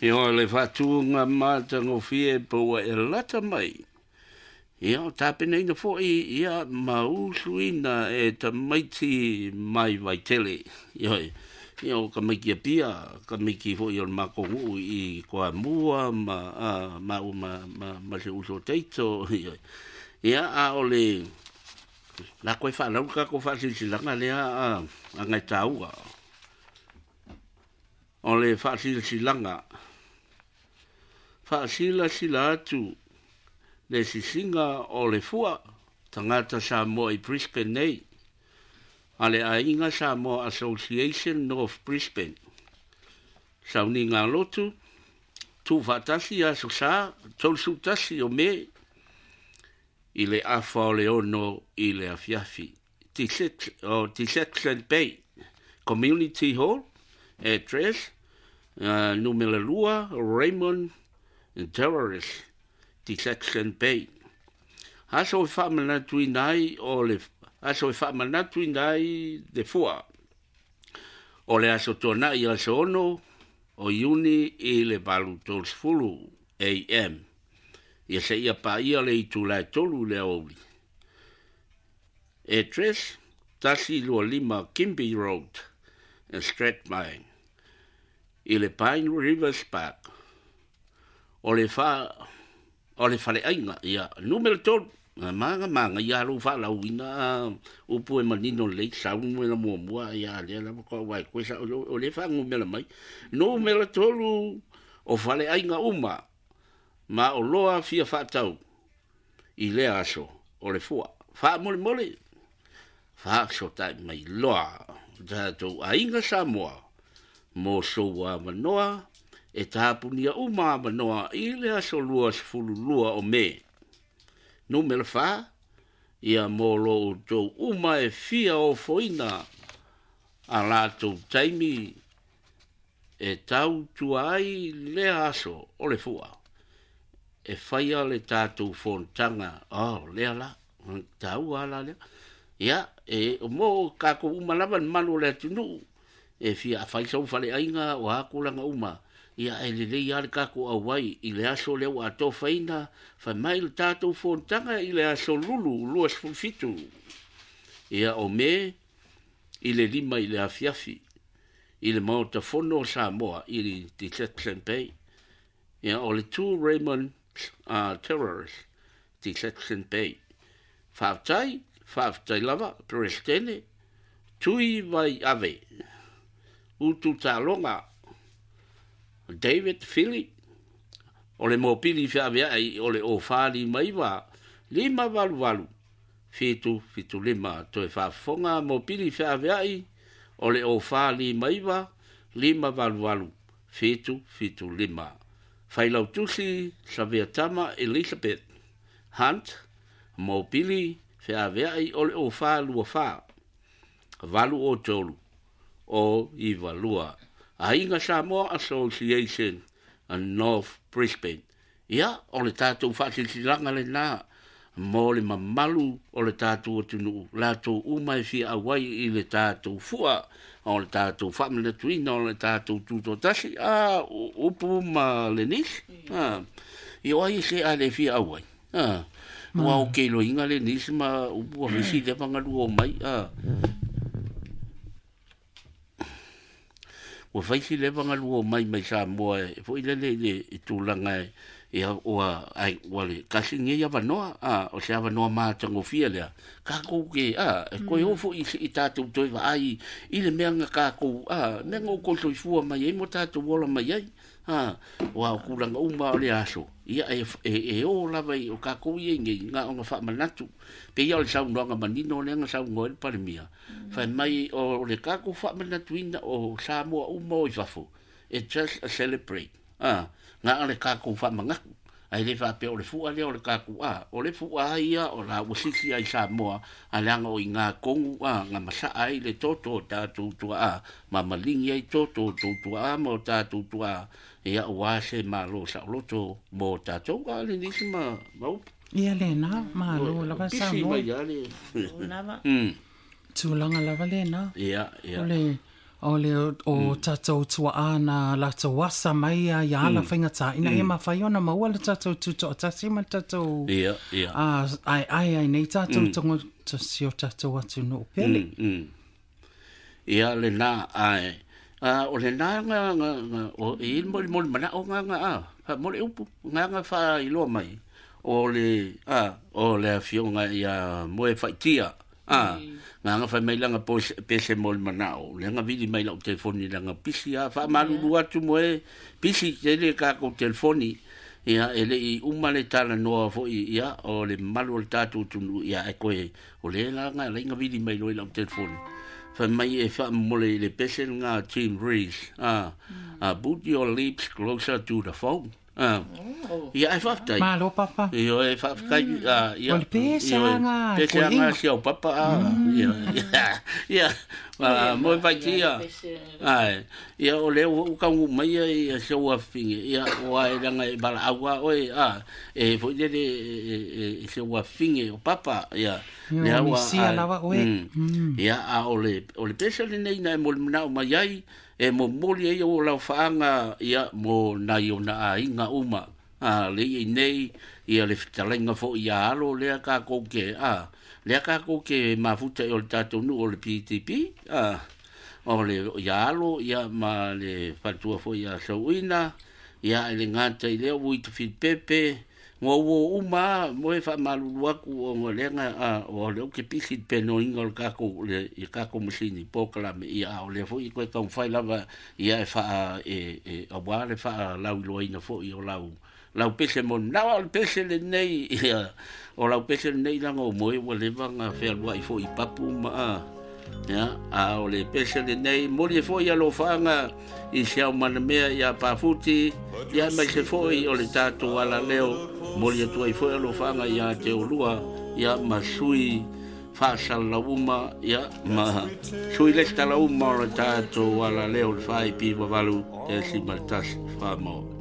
Ia, o le faatuga matagofie po ua e lata mai. Ia, o tapenaina foi ia ma usuina e tamaiti mai Vaitele. Ioe. Ia, o tamaiti Apia, tamaiti foi o le matou nuu i Toamua ma maua ma si ou uso o Taito. Ioe. Ia, a o le la toe faalau le tatou faasilasilaga lea a nai taua. O le faasilasilaga, faasilasila atu le sisiga o le fua tagata Samoa i Brisbane nei, a le Aiga Samoa Association North Brisbane. Sauniga lotu, tuufaatasi Aso Sa, 31 o Me, i le afa o le 6 i le afiafi. Deception Bay Community Hall, address, numera 2, Raymond Terrace, Deception Bay. Aso e faamanatuina ai o le aso e faamanatuina ai le fua. O le aso Tuanai aso 6 o Iuni i le 8:30 AM. Ia seia paia le itula e 3 i le aoauli. Address, 125 Kimby Road, Strathmine, i le Pine Rivers Park. O le fa o le faleaiga, ia, numera 3, maga maga ia lou faalauina upu e manino lelei sau numera muamua ia lea lava ko wai koe sa o le faanumera mai. Numera 3 o faleaiga uma ma o loa fia faatau i lea aso o le fua. Faamolemole, faasotai mai loa tatou aiga Samoa mo sou avanoa e tapunia uma avanoa i le aso 22 o Me. Numera 4, ia mo lo outou uma e fia ofoina a latou taimi e tautua ai lea aso o le fua. E faia le tatou fonotaga, oh, lea la, taua la lea. Ia, e mo kākou uma lava le mamalu o le atunuu, e fia afai sau faleaiga o a tulaga uma, ia e lelei lava le tatou auai i le aso lea ua atofaina, fai mai le tatou fonotaga i le aso Lulu 27. Ia o Me i le 5 i le afiafi, i le Maota Fono o Samoa i le Deception Bay. Ia o le 2 Raymond Terrace, Deception Bay. Faafetai, faafetai lava, Peresetene, Tui Vai Ave, Utu Taloga, David Philip, o le mopili feaveai o le o 459, 588, 775, toe faafofoga mopili feaveai o le o 459, 588, 775. Failautusi Saveatama Elizabeth Hunt, mopili feaveai o le o 424, 803, o 92. Aiga Samoa Association North Brisbane. Ia, o le tatou faasilasilaga lena mo le mamalu o le tatou atunuu, latou uma e fia auai i le tatou fua, o le tatou faamanatuina, o le tatou tutoatasi, upu ma le nisi. Ia o ai se a le fia auai. Ua o ke loiga le nisi ma upu a visi le pangalua o mai. Ua fai si leva galua o mai mai Samoa e foi lele i le tulaga e ia ua ai ua le kasi nei avanoa o se avanoa matagofie lea kākou ke e koe o foi i tatou toe vaai i le mea na kākou mea na outou soifua mai ai mo tatou ola mai ai ua o tulaga uma o le aso ia e o lava i o kākou ia nei na ona faamanatu pe ia o le saunoaga manino lea na saunoa ai le Palemia fai mai o le kākou faamanatuina o Samoa uma o i fafo it's just a celebrate na o le kākou faamanatu ai le faapea o le fua lea o le kākou o le fua ia o la ua sisi ai Samoa a leaga o i ngā kongu nga masaa ai le toto o tātou tuaa ma malingi ai toto o tou tuaa ma o tātou tuaa ia ua se malo saoloto mo tātou a le nisi ma upu. Ia lena, malo lava Pisi Samoa. mai a le. Lava. Tulaga lava lena. Ia, ia. O le O le o tatou tua'a na latou asa mai ia ia ala faigata ina ia mafai ona maua le tatou tutoatasi ma le tatou Ia, ia. a aeae ai nei tatou tagata si o tatou atunuu pele. Ia lena ae a o lena nga nga nga o i mo mo mana'o nga nga a fa mo le upu nga nga fa iloa mai o le a o le afioga ia Moe Faitia a nga nga fai mai langa po pese mo le mana'o le nga vili mai lau telefoni langa pisi a fa malulu atu moe pisi tele ka ko telefoni ia e le'i uma le talanoa fo'i ia o le mamalu o le tatou atunuu ia e koe o le la nga lai nga vili mai loa i lau telefoni fai mai e faamomole i le pese lena Team Rees a put your lips closer to the phone a ia ae faafetai. Malo papa. Ioe faafetai a ia. O le pese ioe lava pese lava si au papa a ia ia mo e faitia ae ia o lea ua ou taunuu mai ia i si ou afafine ia ua e leaga e valaau lava oe a e foi lele e si ou afafine o papa ia lea ua misia lava oe. Ia a o le o le pese lenei na e molimau mai ai e momoli ai ou laufaaga ia mo nai ona aiga uma a le i nei ia le fetalaiga foi ia alo lea takou ke a lea takou ke mafuta i o le tatou nuu o le PTP a o le ia alo ia ma le faletua foi ia Sauina ia e le gata i lea ua i Tafilipepe Ua ua uma a moe faamalulu atu ona o lea na o lea ou te pisi i le penoina o le tatou le i tatou masini polokalame ia a o lea foi e toe taumafai lava ia e faa e e aua le faalauiloaina foi o lau lau pese mo na o le pese lenei ia o lau pese lenei leaga o moe ua leva ona fealuai foi i papu ma a Ia, a o le pese lenei, moli e foi alofaaga i se ao manamea iā Pafuti, ia aemaise foi o le tatou alaleo, moli atu ai foi alofaaga iā te olua, ia ma sui faasalalau uma, ia ma sui lesitala uma o le tatou alaleo le 4.8.1 whamao.